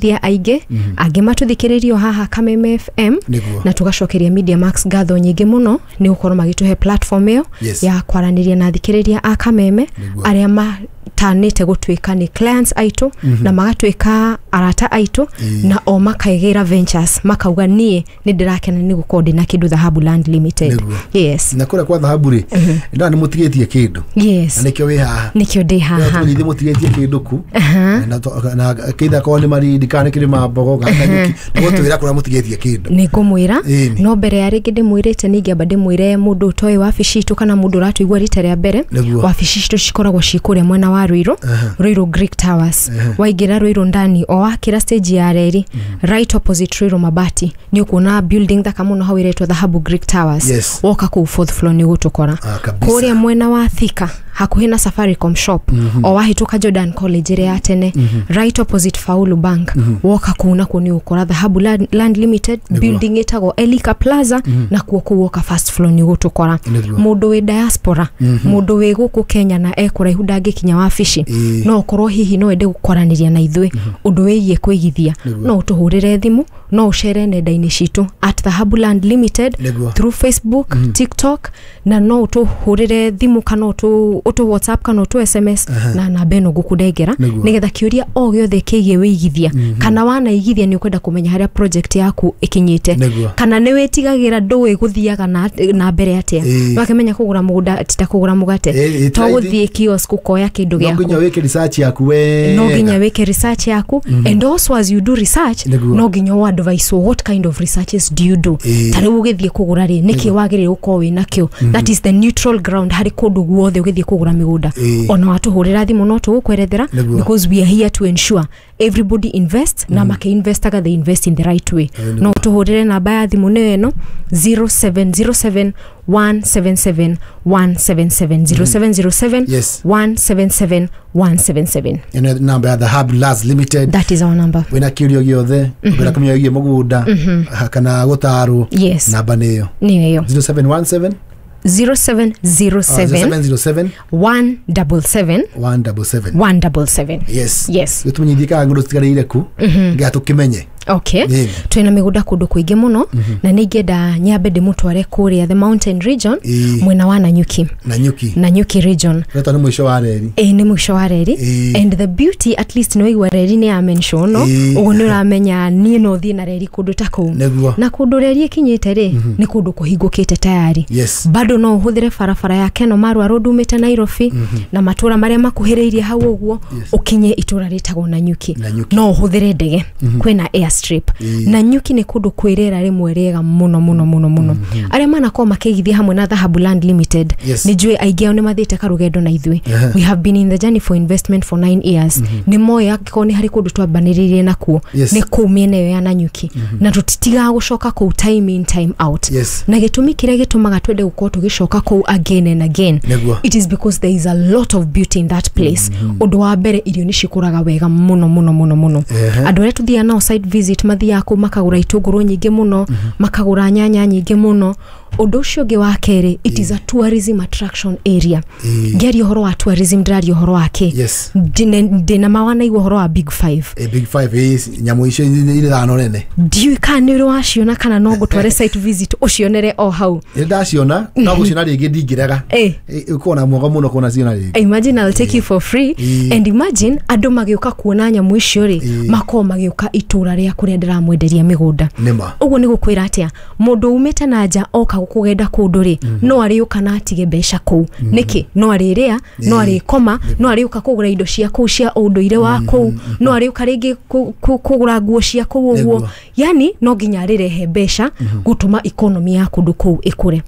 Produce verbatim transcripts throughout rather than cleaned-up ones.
Thia aingĩ angĩ matũthikĩrĩrio haha Kameme F M. Nĩguo. Na tũgacokeria Media Max ngatho nyingĩ mũno nĩ gũkorwo magĩtũhe platform ĩyo Yes. ya kwaranĩria na athikĩrĩria a Kameme Nĩguo. arĩa matanĩte gũtuĩka nĩ clients aitũ na magatuĩka arata aitũ Ĩĩ. na o makaigĩra ventures, makauga niĩ nĩ ndĩrakena nĩ gũkorwo ndĩna kĩndũ Dhahabu Land Limited. Nĩguo. Yes. Na kũrĩa kwa Dhahabu rĩ, ndona nĩ mũtigĩtie kĩndũ yes na nĩkĩo wĩ haha. Nĩkĩo ndĩ haha. Tũmenyithie mũtigĩtie kĩndũ ku na to- na kĩitha korwo nĩ Marindi kana nĩ kĩrĩma mbogo kana Nanyuki, nĩgũtwĩra kũrĩa mũtigĩtie kĩndũ. Nĩ ngũmwĩra. Ĩni. No mbere ya rĩngĩ ndĩmwĩrĩte, nĩ ingĩamba ndĩmwĩre mũndũ ũtoĩ wabici itũ kana mũndũ ũratũigua rita rĩa mbere. Nĩguo. Wabici citũ cikoragwo ci kũrĩa mwena wa Ruiru, Ruiru Greek Towers. Waingĩra Ruiru ndani, o wakĩra stage ya reri, right opposite Ruiru Mabati, nĩ ũkuona building thaka mũno hau ĩretwo Dhahabu Greek Towers. Yes. Woka kũu fourth floor nĩ ũgũtũkora. Ah, kabisa. Kũrĩa mwena wa Thika, hakuhĩ na Safaricom shop, o wahĩtũka Jordan College ĩrĩa ya tene, right opposite Faulu Bank, woka kũu nakuo nĩ ũgũkora Dhahabu Land, Land Limited. Nĩguo. Building ĩtagwo Elika Plaza, nakuo kũu woka first floor nĩ ũgũtũkora. Nĩguo. Mũndũ wĩ diaspora, mũndũ wĩ gũkũ Kenya na ekũraihu ndangĩkinya wabici, Ĩĩ. no ũkorwo hihi no ende gũkwaranĩria na ithuĩ ũndũ wĩgiĩ kũigithia, Nĩguo. no ũtũhũrĩre thimũ, no ũcere nenda-inĩ citũ at Dhahabu Land Limited Nĩguo. through Facebook, TikTok, na no ũtũhũrĩre thimũ kana ũtũ ũtũ WhatsApp kana ũtũ S M S na namba ĩno ngũkũnengera, Nĩguo. nĩgetha kĩũria o gĩothe kĩgiĩ wĩigithia, kana wanaigithia nĩ ũkwenda kũmenya harĩa project yaku ĩkinyĩte, Nĩguo. kana nĩ wĩtigagĩra ndũĩ gũthiaga na, na mbere atĩa. Ĩĩ. Wakĩmenya kũgũra mũgũnda ti ta kũgũra mũgate. Ĩĩ, ĩ, To ti gũthiĩ kiosk ũkoya kĩndũ no gĩaku. Nginya wĩke research yaku wega. No nginya wĩke research yaku, and also as you do research, Nĩguo. no nginya ũ advise what kind of researches do you do. Ĩĩ. Ta rĩu ũgĩthiĩ kũgũra rĩ, nĩkĩ wagĩrĩire gũkorwo wĩ nakĩo? That is the neutral ground harĩ kũndũ guothe ũgĩthiĩ kũgũra mĩgũnda. Ĩĩ. Ona watũhũrĩra thimũ no tũgũkwerethera, Nĩguo. because we are here to ensure everybody invests, na makĩinvestaga they invest in the right way. Nĩguo. No tũhũrĩre namba ya thimũ nĩyo ĩno, zero seven zero seven one seven seven one seven seven, zero seven zero seven Yes. one seven seven one seven seven. Ĩno namba ya Dhahabu Lands Limited. That is our number. Wĩna kĩũria gĩothe ũngĩenda kũmenya wĩgiĩ mũgũnda kana gũtarwo, Yes. namba nĩyo. Nĩyo ĩyo. zero seven one seven zero seven zero seven zero seven zero seven one seven seven one seven seven one seven seven. Yes. Yes. Gĩtũmenyithie kana ng'ũndũ citigarĩire ku nginya tũkĩmenye. Okay. Ĩni. Twĩna mĩgũnda kũndũ kũingĩ mũno, na nĩ ingĩenda nyambe ndĩmũtware kũrĩa the mountain region, Ĩĩ. mwena wa Nanyuki. Nanyuki. Nanyuki region. Retwa nĩ mũico wa reri. Ĩ, nĩ mũico wa reri. Ĩĩ. And the beauty, at least nĩ waigua reri nĩ ya mention no Ĩĩ. ũguo nĩ ũramenya niĩ no thiĩ na reri kũndũ ta kũu. Nĩguo. Na kũndũ reri ĩkinyĩte rĩ, nĩ kũndũ kũhingũkĩte tayari. Yes. Bado no ũhũthĩre barabara ya Keno Marwa Road umĩte Nairobi na matũra marĩa makuhĩrĩirie hau ũguo, Yes. ũkinye itũra rĩtagwo Nanyuki. Nanyuki. No ũhũthĩre ndege, kwĩna airstrip. Ĩĩ. Nanyuki nĩ kũndũ kwĩ rĩera rĩmwe rĩega mũno mũno mũno mũno. Arĩa manakorwo makĩigithia hamwe na Dhahabu Land Limited, Yes. nĩ njũĩ aingĩ ao nĩ mathiĩte karũgendo na ithuĩ. Ehe. We have been in the journey for investment for nine years. Nĩ moĩ angĩkorwo nĩ harĩ kũndũ twambanĩrĩirie nakuo, Yes. nĩ kũu mĩena ĩyo ya Nanyuki, na tũtitigaga gũcoka kũu time in, time out. Yes. Na gĩtũmi kĩrĩa gĩtũmaga twende gũkorwo tũgĩcoka kũu again and again, Nĩguo. it is because there is a lot of beauty in that place. Ũndũ wa mbere, irio nĩ cikũraga wega mũno mũno mũno mũno. Ehe. Andũ arĩa tũthiaga nao site visit mathiaga kũu makagũra itũngũrũ nyingĩ mũno, makagũra nyanya nyingĩ mũno. Ũndũ ũcio ũngĩ wa kerĩ, it is a tourism attraction area. Ĩĩ. Ngĩaria ũhoro wa tourism, ndĩraria ũhoro wa kĩ? Yes. Ndĩna ndĩna ma wanaigua ũhoro wa Big Five? Eh, Big Five, ĩ, nyamũ icio irĩ thano nene. Ndiũĩ kana nĩ ũrĩ waciona kana no ngũtware site visit ũcionere o hau. Nĩ ndaciona, no gũciona rĩngĩ ndingĩrega. Eh. Ũkorwo na mwega mũno kuona ciona rĩngĩ. Imagine I'll take you for free. Ĩĩ. And imagine andũ magĩũka kuona nyamũ icio rĩ, Ĩĩ. makorwo magĩũka itũra rĩa kũrĩa ndĩramwenderia mĩgũnda. Nĩma. Ũguo nĩ gũkwĩra atĩa, mũndũ umĩte na nja oka kũgenda kũndũ rĩ, no arĩũka na atige mbeca kũu. Nĩkĩ? No arĩrĩa, no arĩkoma, no arĩũka kũgũra indo cia kũu cia ũndũire wa kũu, no arĩũka rĩngĩ kũ- kũ- kũgũra nguo cia kũu ũguo. Nĩguo. Yani no nginya arĩrehe mbeca gũtũma economy ya kũndũ kũu ĩkũre.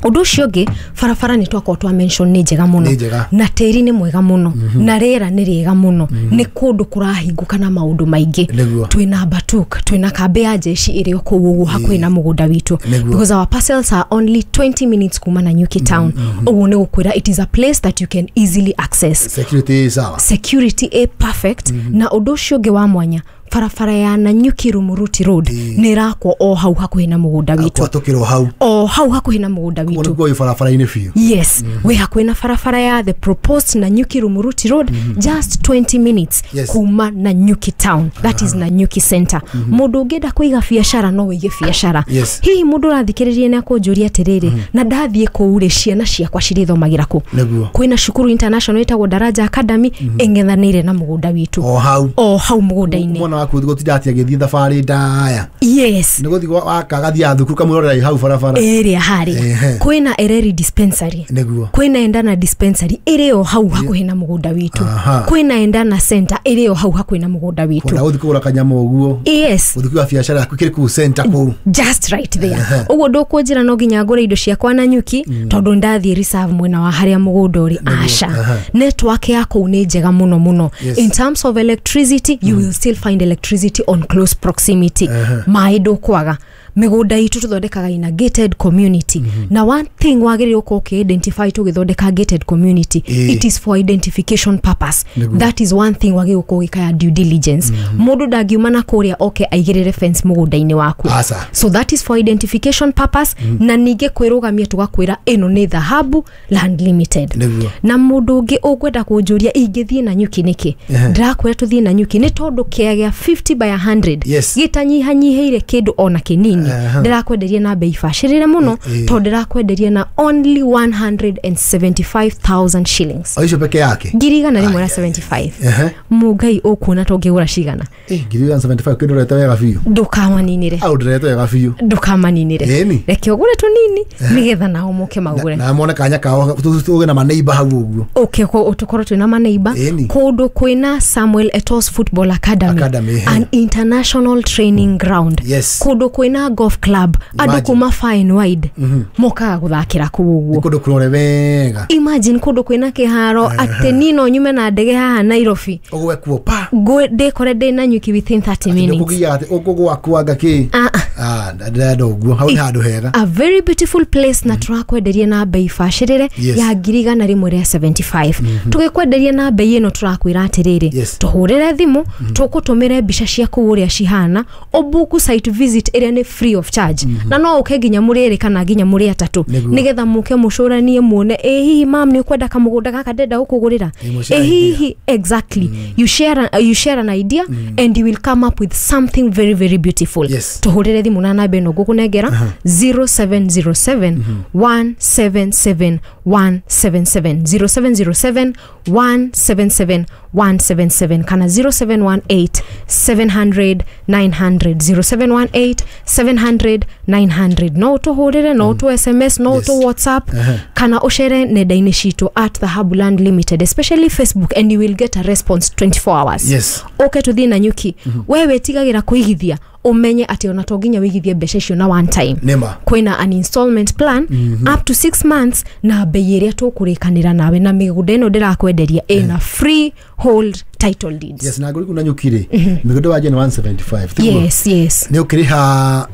Ũndũ ũcio ũngĩ, barabara nĩ twakorwo twa mention nĩ njega mũno. Nĩ njega. Na tĩri nĩ mwega mũno, na rĩera nĩ rĩega mũno. Nĩ kũndũ kũrahingũka na maũndũ maingĩ. Nĩguo. Twĩna Batuk, twĩna kambĩ ya jeshi ĩrĩ o kũu ũguo hakuhĩ na mũgũnda witũ, Nĩguo. because our parcels are only twenty minutes kuma Nanyuki town. Ũguo nĩ gũkwĩra it is a place that you can easily access. Security ĩ sawa. Security ĩ perfect. Na ũndũ ũcio ũngĩ wa mwanya, Barabara ya Nanyuki Rumuruti Road nĩ ĩrakwo o hau hakuhĩ na mũgũnda witũ. Kwatũkĩrwo hau. O hau hakuhĩ na mũgũnda witũ. Koguo wĩ barabara-inĩ biũ. Yes, wĩ hakuhĩ na barabara ya the proposed Nanyuki Rumuruti Road, just twenty minutes Yes. kuma Nanyuki town, that is Nanyuki center. Mũndũ ũngĩenda kũiga biacara no wĩige biacara. Yes. Hihi mũndũ ũrathikĩrĩria nĩ akũnjũria atĩrĩrĩ, na ndathiĩ kũu rĩ, ciana ciakwa cirĩthomagĩra kũ? Nĩguo. Kwĩna cukuru international ĩtagwo Daraja Academy ĩng'ethanĩire na mũgũnda witũ. O hau. O hau mũgũnda-inĩ. Mwana waku gũtinda atĩ agĩthiĩ thabarĩ ndaya. Yes. Nĩ gũthiĩ agathiaga thukuru kamwĩrorera hau barabara. Ĩrĩa harĩa. Ehe. Kwĩna Ereri dispensary. Nĩguo. Kwĩna Endana dispensary ĩrĩ o hau hakuhĩ na mũgũnda witũ. Aha. Kwĩna Endana center ĩrĩ o hau hakuhĩ na mũgũnda witũ. Kwenda gũthiĩ kũgũra kanyamũ ũguo. Yes. Gũthiĩ kũiga biacara yaku kĩrĩ kũu center kũu. Just right there. Ũguo ndũkũnjĩra no nginya ngũre indo ciakwa Nanyuki tondũ ndathiĩ reserve mwena wa harĩa mũgũnda ũrĩ. Aca. Network ya kũu nĩ njega mũno mũno. Yes. In terms of electricity, you will still find electricity on close proximity. Maĩ ndũkwaga. Mĩgũnda itũ tũthondekaga in a gated community. Na one thing wagĩrĩirwo gũkorwo ũkĩ-identify tũgĩthondeka gated community, Ĩĩ. it is for identification purpose. Nĩguo. That is one thing wagĩrĩirwo gũkorwo ũgĩkaya due diligence. Mũndũ ndangiuma na kũrĩa oke aigĩrĩre fence mũgũnda-inĩ waku. Aca. So that is for identification purpose. Na ningĩ kwĩrũgamia tũgakwĩra ĩno nĩ Dhahabu Land Limited. Nĩguo. Na mũndũ ũngĩ ũngwenda kũnjũria ingĩthiĩ Nanyuki nĩkĩ, Ehe. ndĩrakwĩra tũthiĩ Nanyuki nĩ tondũ kĩa gĩa fifty by a hundred Yes. gĩtanyihanyihĩire kĩndũ ona kĩnini. Aha. Ndĩrakwenderia na bei bacĩrĩre mũno Ĩ- ĩ. tondũ ndĩrakwenderia na only one hundred and seventy-five thousand shillings. O icio peke yake. Ngiri igana rĩmwe na seventy-five. Ehe. Mũngai ũkuona ta ũngĩgũra cigana? Eh, ngiri igana seventy-five kĩndũ ũrete wega biũ. Ndũkamaninĩre. Au ndĩrete wega biũ. Ndũkamaninĩre. Ĩni. Reke ũgũre tũnini nĩgetha nao moke magũre. Na mone kanya kao tũge na maneiba hau ũguo. Okay, ko tũkorwo twĩna maneiba. Ĩni. Kũndũ kwĩna Samuel Eto'o Football Academy, Academy, ehe. an international training ground. Yes. Kũndũ kwĩna golf club, andũ Imagine. kuma far and wide mokaga gũthakĩra kũu ũguo. Kũndũ kũrore wega. Imagine kũndũ kwĩna kĩharo atĩ niĩ no nyume na ndege haha Nairobi Ũgwe kuo pa. Ngwe- ndĩkore ndĩ Nanyuki within thirty minutes. Ndũkũgia atĩ ũkũgwa kĩ. Ah, ah. Ah, ndĩrenda ũguo. Hau nĩ handũ hega. A very beautiful place na tũrakwenderia na bei bacĩrĩre Yes. ya ngiri igana rĩmwe rĩa seventy-five. Tũgĩkwenderia na bei ĩno tũrakwĩra atĩrĩrĩ, Yes. tũhũrĩre thimũ, tũkũtũmĩre mbica cia kũu ũrĩa cihana, ũbuku site visit ĩrĩa nĩ free of charge. Na no ũke nginya mũrĩ erĩ kana nginya mũrĩ atatũ Nĩguo. nĩgetha mũke mũcũranie muone, ĩ hihi mam nĩ ũkwenda kamũgũnda gaka ndĩrenda gũkũgũrĩra, Ĩ, mũshare ĩ hihi. Exactly. You share a, you share an idea and you will come up with something very very beautiful. Yes. Tũhũrĩre thimũ na namba ĩno ngũkũnengera, zero seven zero seven one seven seven one seven seven, zero seven zero seven one seven seven one seven seven kana zero seven one eight seven hundred nine hundred, zero seven one eight seven hundred nine hundred. No ũtũhũrĩre, no ũtũ S M S, no Yes. ũtũ WhatsApp kana ũcere nenda-inĩ citũ at Dhahabu Land Limited, especially Facebook, and you will get a response twenty-four hours. Yes. Ũke tũthiĩ Nanyuki. We wĩtigagĩra kũigithia, ũmenye atĩ ona to nginya wĩigithie mbeca icio na one time. Nĩma. Kwĩna an installment plan up to six months na bei ĩrĩa tũkũrĩkanĩra nawe, na mĩgũnda ĩno ndĩrakwenderia ĩna free hold title deeds. Yes, na ngũri kuna Nanyuki rĩ, mĩgũnda wa jena one seventy-five. Tiguo? Yes, yes. Nĩ ũkĩrĩha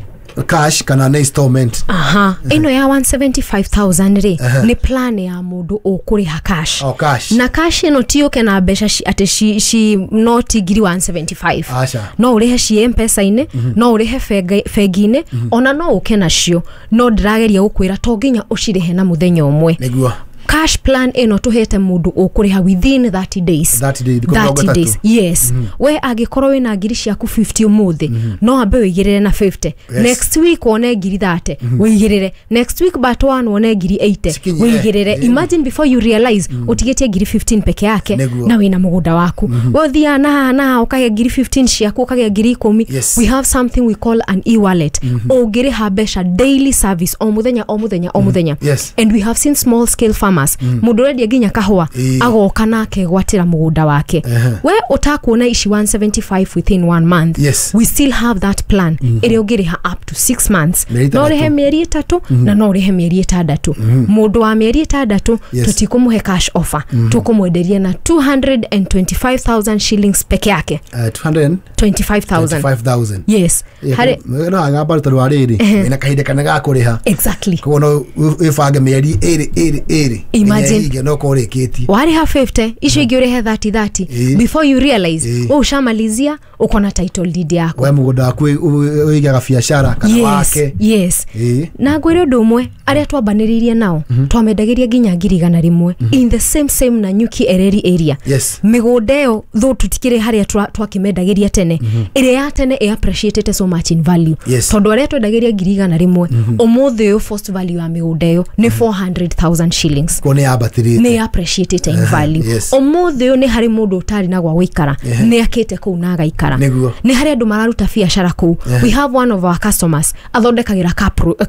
cash kana nĩ installment? Aha. Ĩno ya one seventy-five thousand rĩ, nĩ plan ya mũndũ ũkũrĩha cash. Oh, cash. Na cash ĩno ti ũke na mbeca ci, atĩ ci, ci noti ngiri one seventy-five. Aca. No ũrĩhe ci M-Pesa-inĩ, no ũrĩhe bengi-inĩ, ona no ũke nacio. No ndĩrageria gũkwĩra to nginya ũcirĩhe na mũthenya ũmwe. Nĩguo. Cash plan ĩno tũhete mũndũ ũkũrĩha within thirty days. thirty days, thikũ mĩrongo thirty ĩtatũ. days, yes. We angĩkorwo wĩna ngiri ciaku fifty ũmũthĩ, no ambe wĩigĩrĩre na fifty. Yes. Next week wone ngiri thirty, wĩigĩrĩre. Next week but one wone ngiri eighty, Cikinye. wĩigĩrĩre. Yeah. Imagine before you realize ũtigĩtie ngiri fifteen peke yake Nĩguo. na wĩna mũgũnda waku. We ũthiaga na haha na haha ũkagĩa ngiri fifteen ciaku, ũkagĩa ngiri ikũmi. Yes. We have something we call an e-wallet. Ũngĩrĩha mbeca daily service o mũthenya o mũthenya o mũthenya. Yes. And we have seen small scale farmers. Mũndũ ũrendia nginya kahũa Ĩĩ. agoka na akegwatĩra mũgũnda wake. We ũtakuona ici one seventy-five within one month. Yes. We still have that plan ĩrĩa ũngĩrĩha up to six months. Mĩeri No ũrĩhe ĩtandatũ. mĩeri ĩtatũ na no ũrĩhe mĩeri ĩtandatũ. Mũndũ wa mĩeri ĩtandatũ Yes. tũtikũmũhe cash offer, tũkũmwenderia na two hundred and twenty-five thousand shillings peke yake. Uh, two hundred twenty-five thousand. twenty-five thousand. Yes. Harĩ No agamba tondũ wa rĩrĩ, wĩna kahinda kanene ga kũrĩha. Exactly. Koguo no wĩbange mĩeri ĩrĩ ĩrĩ ĩrĩ. Imagine. No kũrĩkĩtie. Warĩha fifty icio ingĩ ũrĩhe thirty thirty. Ĩĩ. Before you realize Ĩĩ. we ushamalizia uko na title deed yako. We mũgũnda waku ũigaga biacara kana Yes, wake. yes. Ĩĩ. Na ngwĩre ũndũ ũmwe, arĩa twambanĩrĩirie nao twamendagĩria nginya ngiri igana rĩmwe in the same same Nanyuki Ereri area. Yes. Mĩgũnda ĩyo though tũtikĩrĩ harĩa twa- twakĩmendagĩria tene, ĩrĩa ya tene ĩ appreciated so much in value. Yes. Tondũ arĩa twendagĩria ngiri igana rĩmwe ũmũthĩ ũyũ first value ya mĩgũnda ĩyo nĩ four hundred thousand shillings. Kuo nĩ yambatĩrĩte. Nĩ appreciated in value. Yes. Ũmũthĩ ũyũ nĩ harĩ mũndũ ũtarĩ na gwa gũikara, nĩ akĩte kũu na agaikara. Nĩguo. Nĩ harĩ andũ mararuta biacara kũu. We have one of our customers athondekagĩra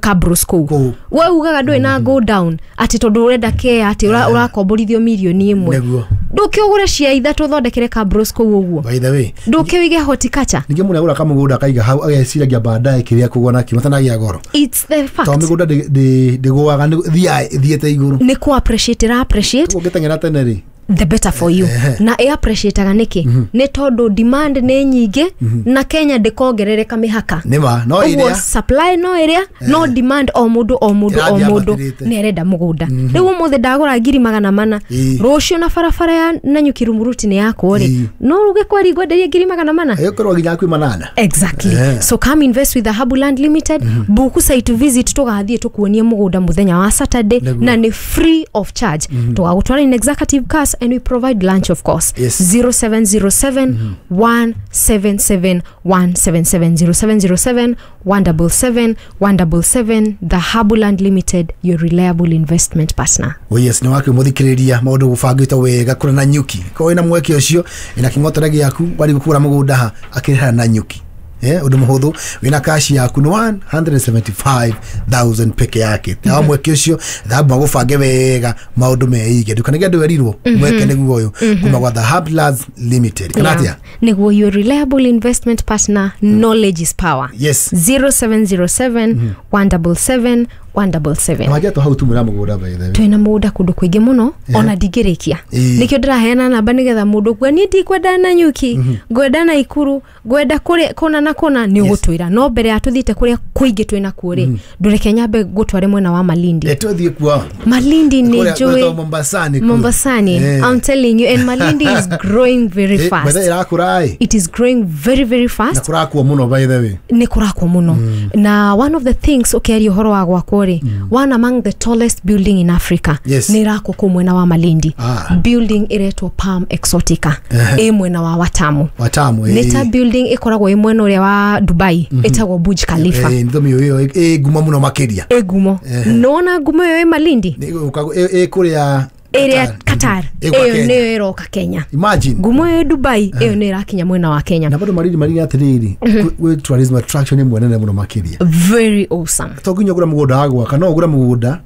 cabros kũu. Kũu. We ugaga ndũĩ na go down atĩ tondũ ũrenda care atĩ ũra- ũrakomborithio mirioni ĩmwe. Nĩguo. Ndũkĩũgũre cia ithatũ ũthondekere cabros kũu ũguo. By the way, Ndũkĩũige horticulture. ningĩ mũndũ agũra kamũgũnda akaiga hau ageciragia baadaye kĩrĩa kũgũa nakĩo matanagĩa goro. It's the fact. Tondũ mĩgũnda ndĩ- ndĩ- ndĩgũaga, nĩ- thiaga ĩthiĩte igũrũ. Nĩ kũ appreciate ĩra appreciate. Ũngĩteng'era tene rĩ, the better for you. Na ĩ appreciateaga nĩkĩ? Nĩ tondũ demand nĩ nyingĩ na Kenya ndĩkongerereka mĩhaka. Nĩma no ũguo ĩrĩa supply no ĩrĩa no demand o mũndũ o mũndũ o Ĩrathiĩ mũndũ ambatĩrĩte. nĩ arenda mũgũnda. Rĩu ũmũthĩ ndagũra ngiri magana mana, Ĩĩ. rũciũ na barabara ya Nanyuki Rumuruti nĩ yakwo rĩ, Ĩĩ. no uge kweri ngwenderie ngiri magana mana. Ĩgũkorwo nginya kwĩ manana. Exactly. Eh. So come invest with Dhahabu Land Limited. Buku site visit tugathiĩ tukuonie mũgũnda mũthenya wa Saturday. Nĩguo. Na nĩ free of charge. Tũgagũtwara in executive cars and we provide lunch of course. Yes. zero seven zero seven one seven seven one seven seven, zero seven zero seven one double seven one double seven. Dhahabu Land Limited, your reliable investment partner. Oh yes, nĩ wakĩ mũthikĩrĩria maũndũ gũbangĩtwo wega kũrĩa Nanyuki. Korwo wĩna mweke ũcio ĩna kĩng'otore gĩaku wari gũkũra mũgũnda ha akĩrĩha Nanyuki. Eh, ũndũ mũhũthũ wĩna cash yaku nĩ one hundred seventy-five thousand peke yake. Na mweke ũcio Dhahabu magũbange wega maũndũ meige. Ndũkanage andũ werirwo mweke nĩguo ũyũ kuma gwa Dhahabu Lands Limited. Kana atĩa? Nĩguo, your reliable investment partner, knowledge is power. Yes. zero seven zero seven one double seven one double seven. Na wajia hau tumwĩra mũgũnda by the way. Twĩna mũgũnda kũndũ kũingĩ mũno ona ndingĩrĩkia. Ĩĩ. Nĩkĩo ndĩraheana namba nĩgetha mũndũ kuga niĩ ndikwenda Nanyuki, ngwenda Naikuru, ngwenda kũrĩa kũna na kũna, nĩ ũgũtwĩra. No mbere ya tũthiĩte kũrĩa kũingĩ twĩna kuo rĩ, ndũreke nyambe ngũtware mwena wa Malindi. Eh, tũthiĩ kuo. Malindi nĩ Kũrĩa njũĩ gwĩtwo Mombasani kũu. Mombasani. Eh. I'm telling you, and Malindi is growing very Eh, fast. by the way, ĩrakũra ĩ. It is growing very very Na fast. kũrakwo mũno by the way. Nĩ kũrakwo mũno. Na one of the things ũkĩaria ũhoro wa gwakwo rĩ, one among the tallest building in Africa Yes. nĩ ĩrakwo kũu mwena wa Malindi. Ah. Building ĩretwo Palm Exotica ĩ mwena wa Watamu. Watamu ĩ. Nĩ ta building ĩkoragwo ĩ mwena ũrĩa wa Dubai ĩtagwo Burj Khalifa. Eh, nĩ ĩyo ĩ ngumo mũno makĩria. Ĩ ngumo. Nĩwona ngumo ĩyo ĩ Malindi? Nĩ ĩgũka- ĩ ĩ kũrĩa Ĩrĩa Qatar. Ĩgũka Ĩyo Kenya. nĩyo ĩroka Kenya. Imagine. Ngumo ĩyo Dubai ĩyo nĩ ĩrakinya mwena wa Kenya. Na bado Malindi Malindi atĩrĩrĩ, gwĩ tourism attraction ĩmwe nene mũno makĩria. Very awesome. To nginya ũgũre mũgũnda wa gwaka, no ũgũre mũgũnda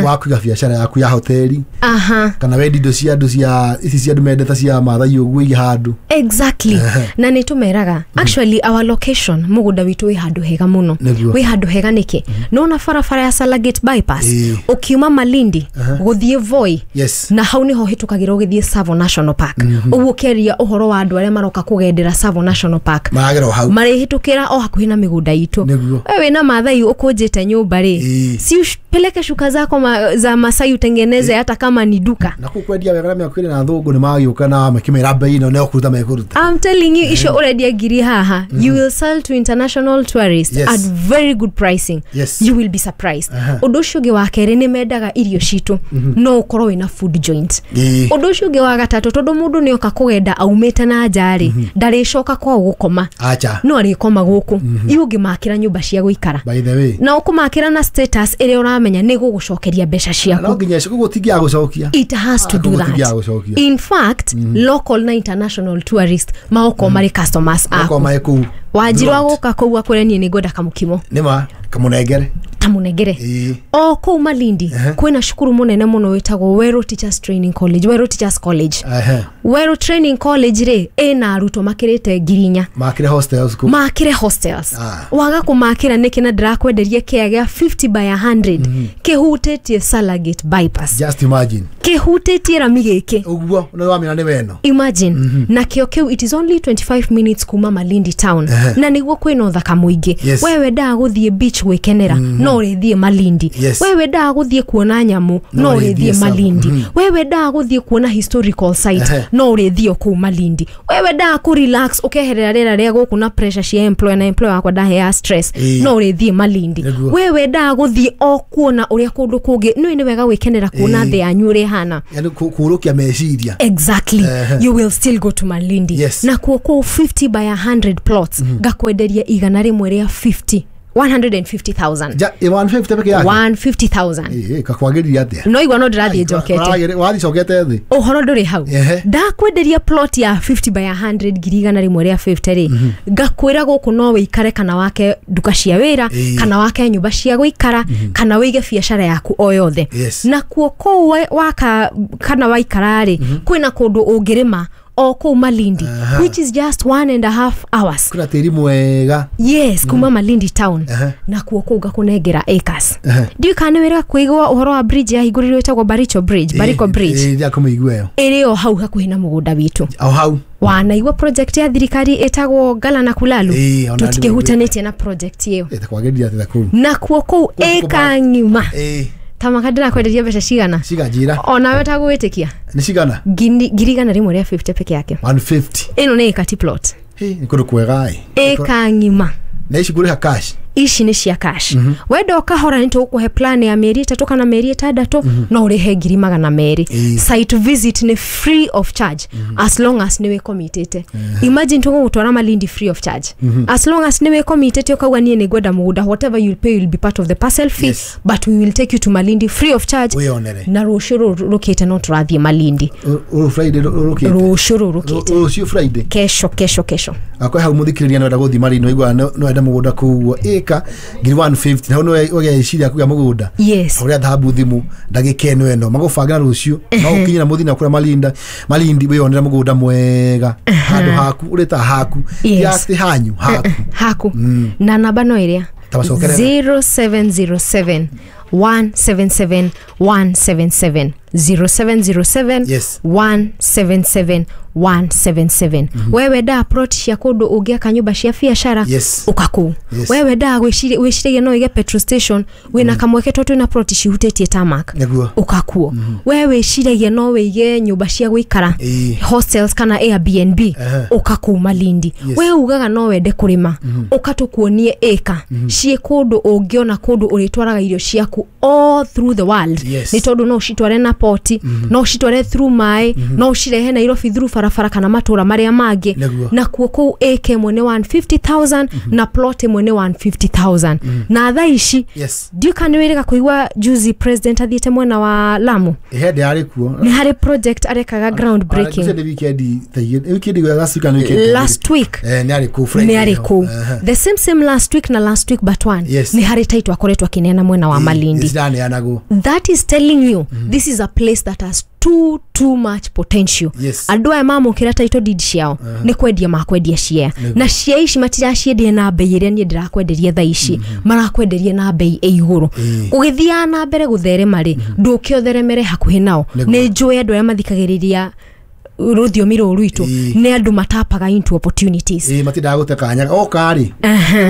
wa kũiga biacara yaku ya hoteli. Aha. Kana wendi indo cia andũ cia ici cia andũ mendete cia Maathai ũguo ige handũ. Exactly. Na nĩ tũmeraga actually our location mũgũnda witũ wĩ handũ hega mũno. Nĩguo. Wĩ handũ hega nĩkĩ? Nĩwona barabara ya Salagate bypass Ĩĩ. ũkiuma Malindi gũthiĩ Voi. Yes. Na hau niho hĩtũkagĩra ũgĩthiĩ Tsavo National Park. Ũguo ũkĩaria ũhoro wa andũ arĩa maroka kũgendera Tsavo National Park Maragera o hau. marĩhĩtũkĩra o hakuhĩ na mĩgũnda itũ. Nĩguo. Wewe wĩna Maathai ũkũnjĩte nyũmba rĩ, Ĩĩ. si upeleke shuka zako ma, za Masai utengeneze hata kama ni duka. Na kũu kwendia wega na mĩaka ĩrĩ na thũngũ nĩ magĩũka na makĩmĩra bei ĩno nĩ ũkũruta mekũruta. I'm telling you, icio ũrendia ngiri haha, you will sell to international tourists Yes. at very good pricing. Yes. You will be surprised. Ũndũ ũcio ũngĩ wa kerĩ nĩ mendaga irio citũ, no ũkorwo wĩna food joint. Ĩĩ. Ũndũ ũcio ũngĩ wa gatatũ, tondũ mũndũ nĩ oka kũgenda aumĩte na nja rĩ, ndarĩcoka kwao gũkoma. Acha. No arĩkoma gũkũ. Iu ũngĩmakĩra nyũmba cia gũikara. By the way. Na ũkũmakĩra na status ĩrĩa ũramenya nĩ gũgũcokeria mbeca ciaku. No nginya icio koguo tingiaga gũcokia. It has to Ah, do koguo that. tingiaga gũcokia. In fact, local na international tourist magokorwo marĩ customers Makorwo aku. marĩ kũu. Wanjirũ Throughout. agũka kũu akwĩre niĩ nĩ ngwenda kamũkimo. Nĩma kamũnengere. Tamũnengere. Ĩĩ. O kũu Malindi kwĩna cukuru mũnene mũno wĩtagwo Weru Teachers Training College, Weru Teachers College. Ehe. Weru Training College rĩ ĩna arutwo makĩrĩte ngiri inya. Makĩre hostels kũu. Makĩre hostels. Ah. Waga kũmakĩra nĩkĩ na ndĩrakwenderia kĩa gĩa fifty by a hundred kĩhutĩtie Salagate bypass. Just imagine. Kĩhutĩtie rami gĩkĩ. Ũguo nĩ wamenya nĩ weno. Imagine. Na kĩo kĩu it is only twenty-five minutes kuma Malindi town. Ehe. Na nĩguo kwĩna ũthaka mũingĩ. Yes. We wendaga gũthiĩ beach gwĩkenera, no no ũrĩthiĩ Malindi. Yes. We wendaga gũthiĩ kuona nyamũ, no ũrĩthiĩ Tsavo. Malindi. We wendaga gũthiĩ kuona historical site, Ehe. no ũrĩthiĩ o kũu Malindi. We wendaga kũ relax, ũkeherera rĩera rĩa gũkũ na pressure cia employer, na employer wakwa ndahea stress, Ĩĩ. no ũrĩthiĩ Malindi. Nĩguo. We wendaga gũthiĩ o kuona ũrĩa kũndũ kũngĩ, nĩũĩ nĩ wega gwĩkenera kuona Ĩĩ. thĩ yanyu ũrĩa ĩhana. Yani kũrũkia meciria. Exactly. Ehe. You will still go to Malindi. Yes. Na kuo kũu fifty by a hundred plots, ngakwenderia igana rĩmwe rĩa fifty, one hundred fifty thousand. Ja one fifty peke yake? one hundred fifty thousand. Ĩĩ, kakwagĩrĩria atĩa? No igua no ndĩrathiĩ njokete. Wathiĩ cokete thĩ. Ũhoro ndũrĩ hau. Ehe. Ndakwenderia plot ya fifty by a hundred ngiri igana rĩmwe rĩa fifty rĩ, ngakwĩra gũkũ no wĩikare, kana wake nduka cia wĩra, Ĩĩ. kana wake nyũmba cia gũikara, kana wĩige biacara yaku o yothe. Yes. Na kuo kũu wa- waka kana waikara rĩ, kwĩna kũndũ ũngĩrĩma o kũu Malindi, Aha. which is just one and a half hours. Kwĩna tĩri mwega. Yes, kuma Malindi town. Ehe. Na kuo kũu ngakũnengera acres. Ehe. Ndiũĩ kana nĩ wĩrĩga kũigua ũhoro wa bridge yahingũrirwo ĩtagwo Baricho Bridge, Bariko Bridge. Ĩĩ, kũmĩigua ĩyo. Ĩrĩ o hau hakuhĩ na mũgũnda witũ. O hau. Wanaigua project ya thirikari ĩtagwo Ngala na Kulalu? Ĩĩ, ona Tũtikĩhutanĩtie na project ĩyo. Ĩ, takwagĩrĩria atĩa kũu? Na kuo kũu ĩka ng'ima. Ĩĩ. Tamaka, ndĩrakwenderia mbeca cigana? Ciganjĩra. Onawe tagwĩtĩkia. Nĩ cigana? ngiri ngiri igana rĩmwe rĩa fifty peke yake. one fifty. Ĩno nĩ ĩka ti plot. Hĩ, nĩ kũndũ kwega ĩ. Ĩka ng'ima. Na ici ngũrĩha cash? Ici nĩ cia cash. Wenda ũkahora, nĩ tũgũkũhe plan ya mĩeri ĩtatũ kana mĩeri ĩtandatũ, no ũrĩhe ngiri magana merĩ. Ĩĩ. Site visit nĩ free of charge as long as nĩ wĩkomitĩte. Imagine, tũgũgũtwara Malindi free of charge as long as nĩ wĩkomitĩte, ũkauga niĩ nĩ ngwenda mũgũnda. Whatever you'll pay will be part of the parcel fee, Yes. but we will take you to Malindi free of charge. Wĩyonere. Na rũciũ rũrũ rũkĩte no tũrathiĩ Malindi. Ũrũ Friday rũkĩte? Rũciũ rũrũ rũkĩte. Rũciũ Friday? Kesho, kesho, kesho. Akorwo hau mũthikĩrĩria nĩwenda gũthiĩ Malindi, waigua nĩwenda mũgũnda kũu ĩka ngiri one fifty, na hau nĩwe ũgeciria kũgĩa mũgũnda. Yes. Ũrĩa thahabu thimũ ndagĩka ĩno ĩno magũbangĩra rũciũ, no ũkinyĩra mũthiĩ na kũrĩa Malinda Malindi, wĩyonere mũgũnda mwega, handũ haku ũrĩta haku. Yes. Ti hanyu haku. Haku. Na namba no ĩrĩa Tabacokerera. zero seven zero seven one seven seven one seven seven, zero seven zero seven Yes. one seven seven one seven seven. We wendaga plot cia kũndũ ũngĩaka nyũmba cia biacara, Yes. ũka kũu. Yes. We wendaga gwĩciria- wĩciragia no ũige petrol station, wĩna kamweke tondũ twĩna plot cihutĩtie tarmac, Nĩguo. ũka kuo. We wĩciragia no wĩige nyũmba cia gũikara, Ĩĩ. hostels kana Airbnb, Ehe. ũka kũu Malindi. Yes. We ugaga no wende kũrĩma, ũka tũkuonie ĩka ciĩ kũndũ ũngĩona kũndũ ũrĩtwaraga irio ciaku all through the world. Yes. Nĩ tondũ no ũcitware na poti, no ũcitware through maĩ, no ũcirehe Nairobi through barabara kana matũra marĩa mangĩ. Nĩguo. Na kuo kũu ĩka ĩmwe nĩ one hundred fifty thousand na plot ĩmwe nĩ one hundred fifty thousand. Na thaa ici, Yes. ndiũĩ kana nĩ wĩrĩga kũigua juzi president athiĩte mwena wa Lamu? Hĩndĩ yarĩ kuo. Nĩ harĩ project arekaga ground breaking. Nĩ weekend ta igĩrĩ- weekend last week kana weekend ta igĩrĩ. Last week. Eh, nĩ arĩ kũu Friday Nĩ arĩ ĩyo. kũu. Ehe. The same same last week na last week but one, Yes. nĩ harĩ title akoretwo akĩneana mwena wa Malindi. Ciraneanagwo. That is telling you this is a place that has too too much potential. Yes. Andũ aya mamũkĩra title deed ciao nĩ kwendia makwendia cia, na cia ici matiraciendia na mbei ĩrĩa niĩ ndĩrakwenderia thaa ici, marakwenderia na mbei ĩ igũrũ. Ĩĩ. Ũgĩthiaga na mbere gũtherema rĩ, ndũke ũtheremere hakuhĩ nao. Nĩguo. Nĩ njũĩ andũ arĩa mathikagĩrĩria rũthiomi rũrũ rwitũ Ĩĩ. nĩ andũ matapaga into opportunities. Ĩĩ, matindaga gũte kanya oka rĩ,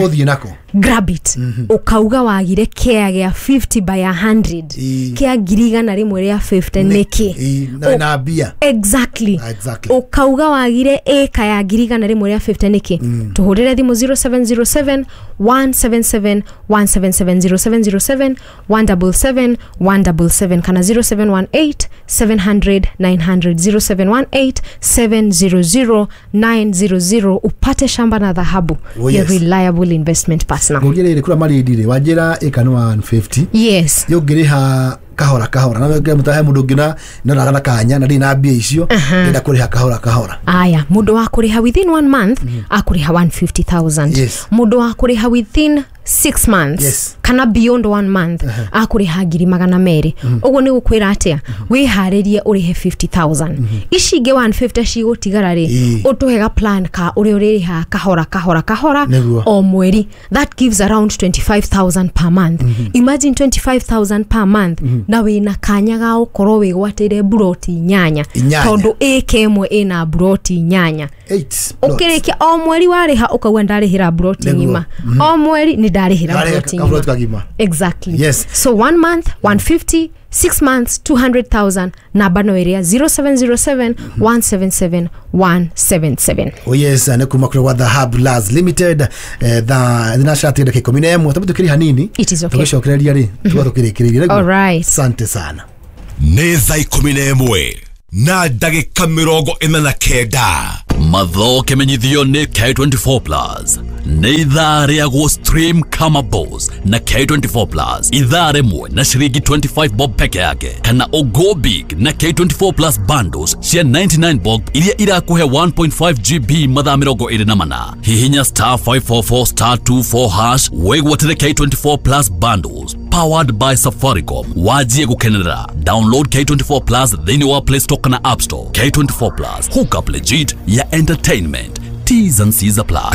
ũthiĩ nako. Grab it. Ũkauga wagire kĩa gĩa fifty by a hundred, Ĩĩ. kĩa ngiri igana rĩmwe rĩa fifty nĩkĩ? Ĩĩ, na wĩna mbia. Exactly. Exactly. Ũkauga wagire ĩka ya ngiri igana rĩmwe rĩa fifty nĩkĩ? Tũhũrĩre thimũ zero seven zero seven one seven seven one seven seven, zero seven zero seven one seven seven one seven seven, kana zero seven one eight seven hundred nine hundred, zero seven one eight seven hundred nine hundred, upate shamba na dhahabu. Oh, Your yes. reliable investment partner. Ngũrie rĩrĩ, kũrĩa Malindi rĩ, wanjĩra ĩka nĩ one fifty. Yes. Yũngĩrĩha kahora kahora, na he mũndũ ũngĩ na noraga na kanya na ndirĩ na mbia icio, ndĩrenda kũrĩha kahora kahora. Aya, mũndũ wa kũrĩha within one month akũrĩha one hundred fifty thousand. Yes. Mũndũ wa kũrĩha within six months Yes. kana beyond one month akũrĩha ngiri magana merĩ. Ũguo nĩ gũkwĩra atĩa? Wĩharĩrie ũrĩhe fifty thousand. Ici ingĩ one fifty cigũtigara rĩ, Ĩĩ. ũtũhe ga plan ka ũrĩa ũrĩrĩhaga kahora kahora kahora Nĩguo. o mweri. That gives around twenty-five thousand per month. Imagine, twenty-five thousand per month, na wĩna kanya ga gũkorwo wĩgwatĩire buroti inyanya. Inyanya. Tondũ ĩka ĩmwe ĩna buroti inyanya. Eight plots. Ũkĩrĩkia o mweri warĩha ũkauga ndarĩhĩra broti Nĩguo. ng'ima, o mweri nĩ ndarĩhĩra Ndarĩha broti kaburoti ng'ima. kagima. Exactly. Yes. So one month one fifty, six months two hundred thousand. Namba no ĩrĩa zero seven zero seven one seven seven one seven seven. Oh yes, nä kuma kå gwa Dhahab Las Limited. eh, thaa thinacara ndagä ikå mi na ĩmwe tondå tå kä rä hanini. It is okay. Tå gä cokereria rä tuga tå kä rä kä rä rie. Alright. Asante sana. Nĩ thaa ikũmi na ĩmwe na ndagĩka mĩrongo ĩna na kenda. Matho kĩmenyithio nĩ K twenty-four Plus. Nĩ ithaa rĩa gũ stream kama boss na K twenty-four Plus, ithaa rĩmwe na ciringi twenty-five bob peke yake, kana o go big na K twenty-four Plus bundles cia ninety-nine bob iria irakũhe one point five G B mathaa mĩrongo ĩrĩ na mana. Hihinya star five four four star twenty-four hash wĩgwatĩre K twenty-four Plus bundles powered by Safaricom, wajie gũkenerera. Download K twenty-four Plus thĩinĩ wa Play Store kana App Store. K twenty-four Plus, hookup legit ya entertainment. T's and C's apply.